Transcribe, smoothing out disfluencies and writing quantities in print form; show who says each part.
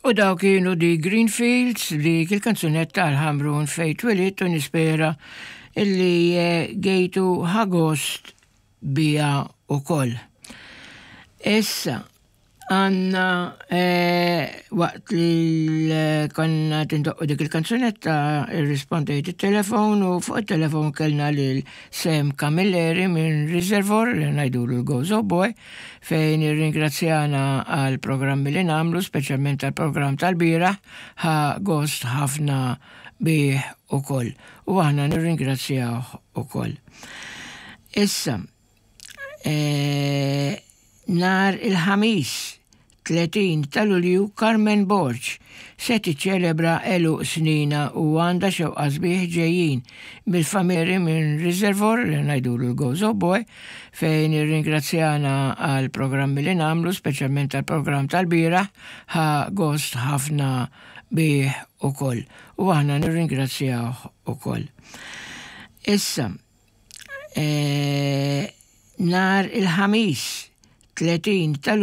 Speaker 1: U dawk kienu The Greenfields dik il-kanzunetta għal Ħamrun fejn twilidt u nispera illi eh, gejtu ħagost bija ukoll. Issa, għanna eh, waqt li konna tindoqqu dik il-kanzunetta irrispondejt il-telefon u fuq il-telefon kellna lil Sam Camilleri minn Reservoir li ngħidulu l-Gozo Boy fejn irringrazzjana għal programmi li nagħmlu, speċjalment għal programm tal-bieraħ, ħa gost ħafna bih ukoll. U aħna nirringrazzjawh ukoll. Issa, e, nhar il-Ħamis 30 ta' Lulju Carmen Borg se tiċċelebra għeluq sninha u għandha xewqa sbieħ ġejjin mill-familji minn Reservoir li ngħidulu l-Gozo Boy fejn irringrazzjana għal programmi li nagħmlu speċjalment għall-programm tal-bieraħ ħa gost ħafna bih ukoll u aħna nirringrazzjawh ukoll. Issa, e, nhar il-Ħamis 30 ta'